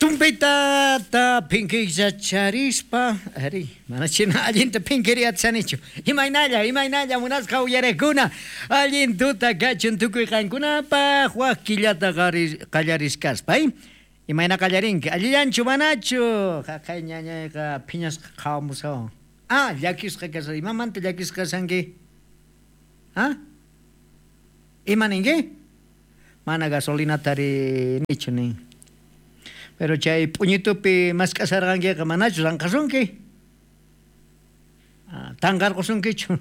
Tumpitata phinkiychacharispa, ari, mana china allinta phinkiriyatsanichu. Imaynalla, imaynalla munasqa uyariqkuna, allin tuta kachun tukuy qankunapaq wak killata qallariskaspa, Imayna qallarinki? Allillanchu manachu? Jaqay ñañayqa phiñasqa qhawamushawan. Ah, llakisqa kashan. Imamanta llakisqa kashanki? Ah? Ima ninki? Mana gasolinata rinichu nin. Pero chay p'uñitupi mask'asharqankiqa manachu ranqasunki? Tanqarqusunkichu?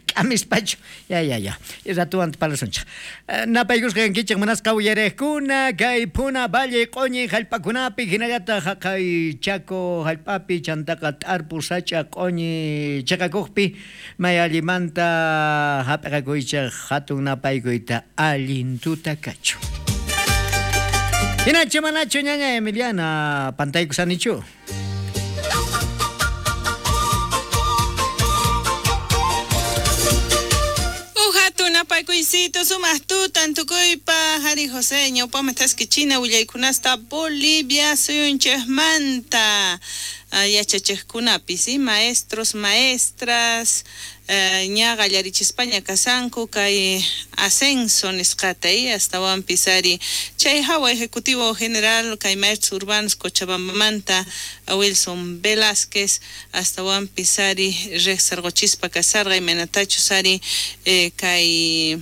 K'amispachu? Ya, ya, ya. Ratuwanta parlasunchik. Napaykusqa kankichik munasqa uyariqkuna kay Puna Valle q'uñi hallp'akunapi hinallataq haqay Chaco hallp'api chantaqa t'arpu sach'a q'uñi chiqakuqpi may allimanta hap'iqakuychik hatun napaykuyta allin tuta kachun. Hinachu manachu ñaña Emiliana pantaykusanichu? Uj hatun napaykuycito sumaq tutan tukuypa Jari José ñawpaqman thaskichina willaykunasta Bolivia suyunchikmanta yachachiqkunapi, ¿sí? Maestros, maestras, ña qallarichispaña kasanku kay ascenso nisqata, astawanpis ari chay hawa ejecutivo general kay maestros urbanos Cochabambamanta Wilson Velázquez astawanpis ari riqsirquchispa kasarqa imaynatachus ari kay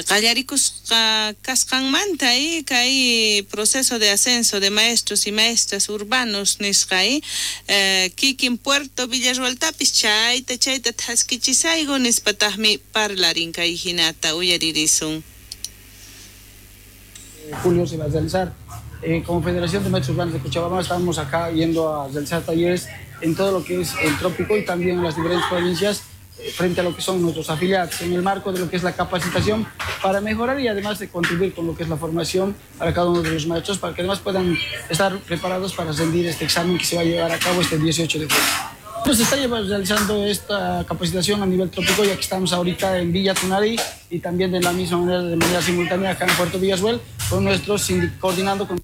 qallarikusqa kasqanmanta kay proceso de ascenso de maestros y maestras urbanos nisqa kikin Puerto Villarroeltapis chayta chayta thaskichisayku nispataqmi parlarin kay hinata uyaririsun. Julio se va a realizar. Como Federación de Maestros Urbanos de Cochabamba estamos acá yendo a realizar talleres en todo lo que es el trópico y también en las diferentes provincias frente a lo que son nuestros afiliados, en el marco de lo que es la capacitación para mejorar y además de contribuir con lo que es la formación para cada uno de los maestros, para que además puedan estar preparados para rendir este examen que se va a llevar a cabo este 18 de julio. Se está realizando esta capacitación a nivel trópico, ya que estamos ahorita en Villa Tunari y también de la misma manera, de manera simultánea acá en Puerto Villarroel, coordinando con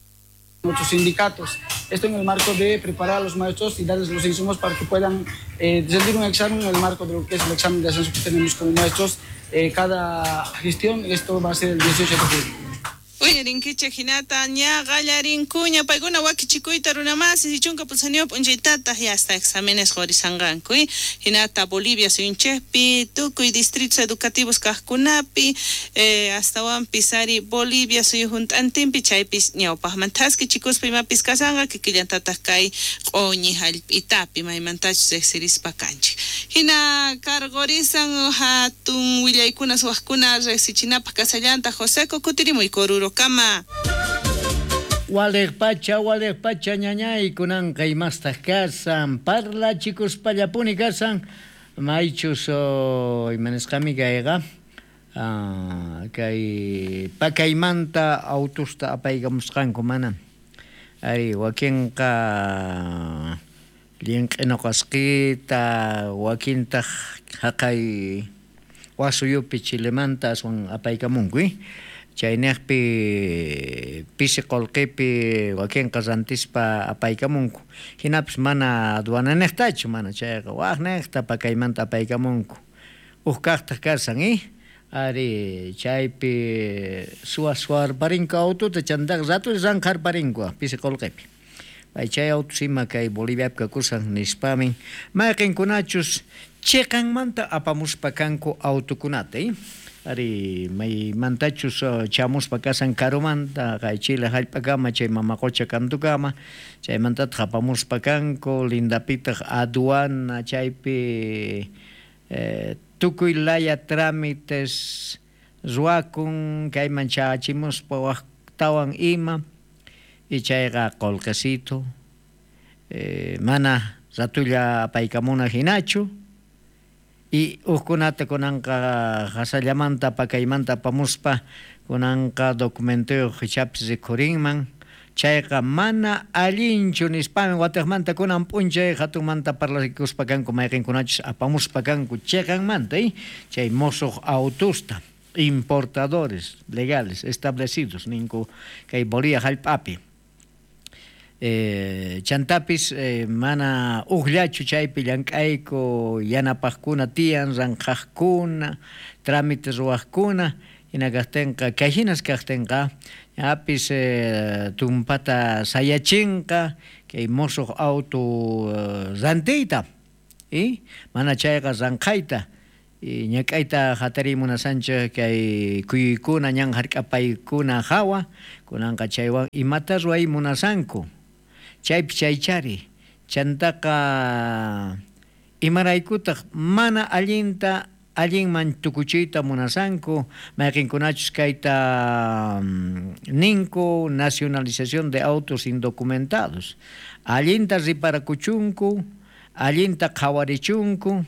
nuestros sindicatos. Esto en el marco de preparar a los maestros y darles los insumos para que puedan rendir un examen en el marco de lo que es el examen de ascenso que tenemos como maestros cada gestión. Esto va a ser el 18 de julio. Uyarinkichik hinata ña qallarinkuña paykuna wakichikuyta runamasi chunka pulsaniyuq p'unchaytataq ya hasta exámenes qurisanqanku hinata Bolivia suyunchikpi tukuy distritos educativos kaqkunapi astawanpis ari Bolivia suyu hunt'antinpi chaypis ñawpaqman thaskichikuspa imapis kasanqa kikillantataq kay q'uñi hallp'itapi maymantachus riqsirispa kanchik hina karqurisan hatun willaykuna suwaqkuna riqsichinapaq kasallantaq Joseco kutirimuy Koruro kama. Waliq pacha ñañay kunanqa imastaq kasan parlachikuspallapuni kasan maychus imanisqami kayqa kay pakaymanta autusta apaykamusqanku mana ari wakinqa llinq'inoqasqita wakintaq haqay wasuyupi Chilemanta aswan apaykamunku chayniqpi pisi qullqipi wakinqa rantispa apaykamunku hinapis mana aduananiqtachu mana chayqa waqniqta pakaymanta apaykamunku uj kaqtaq kasan ari chaypi suwa-suwarparinku aututa chantaqa ratu ranqharparinku pisi qullqipi pay chay autus ima kay Boliviapi kakusan nispamin mayqinkunachus chiqanmanta apamuspa kanku autukunata ari maymantachus chamuspa kasan karumanta kay Chile hallp'akama chay mama qucha kantukama chaymantataq apamuspa kanku lindapitaq aduana chaypi tukuy laya trámites ruwakun kayman chachimuspa waqtawan ima y chayqa qullqisito mana ratulla apaykamuna hinachu y ujkunata kunanqa hasallamanta pakaymanta apamuspa kunanqa documentuyuq ichapis rikhurinman chayqa mana allinchu nispami watiqmanta kunan p'unchay hatunmanta parlakuspa kanku mayqinkunachus apamuspa kanku chiqanmanta chay musuq autusta importadores legales establecidos ninku kay Bolivia hallp'api. Chantapis mana ujllachu chaypi llank'ayku, yanapajkuna tiyan, ranqhajkuna, trámite ruwajkuna, hina kajtinqa kay hinas kajtinqa ñapis tumpata sayachinqa kay musuq auto rantiyta, mana chayqa ranqhayta, ñak'ayta hatariy munasanchik kay kuyuykuna ñan hark'apaykuna hawa, kunanqa chaywan imata ruway munasanku, chaypi chaychari, chantaqa imaraykutaq mana allinta allinman tukuchiyta munasanku, mayqinkunachus kayta ninku nacionalización de autos indocumentados, allinta riparakuchunku, allinta qhawarichunku,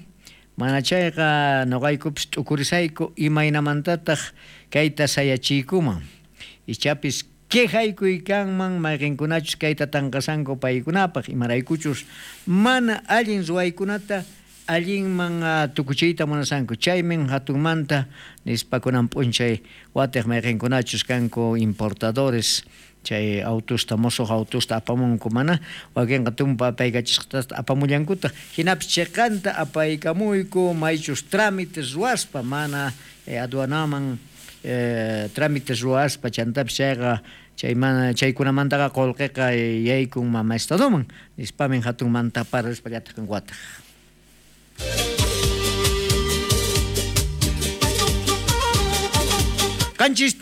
mana chayqa nuqaykupis t'ukurisayku imaynamantataq kayta sayachiykuman, ichapis quejaykuy kanman mayqinkunachus kayta tanqasanku paykunapaq, imaraykuchus mana allin ruwaykunata allinman tukuchiyta munasanku, chaymin hatunmanta nispa kunan p'unchay watiq mayqinkunachus kanku importadores chay autosta musuq autosta apamunku mana wakinqa tumpa apaykachisqatasta apamullankutaq, hinapis chiqanta apaykamuyku maychus trámites ruwaspa mana aduanaman trámites ruwaspa chantapis chayqa chay mana chaykunamantaqa qullqiqa yaykun mama estadoman nispamin hatunmanta parlaspa llataq wataq. Qanchis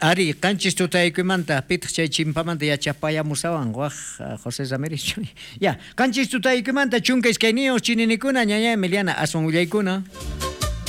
ari qanchis tutaykuymanta pitaq chay chimpamanta yachapayamusawan waj José Ramírez. Ya, qanchis tutaykuymanta 12 chininikuna ñaña Emiliana aswan willaykuna.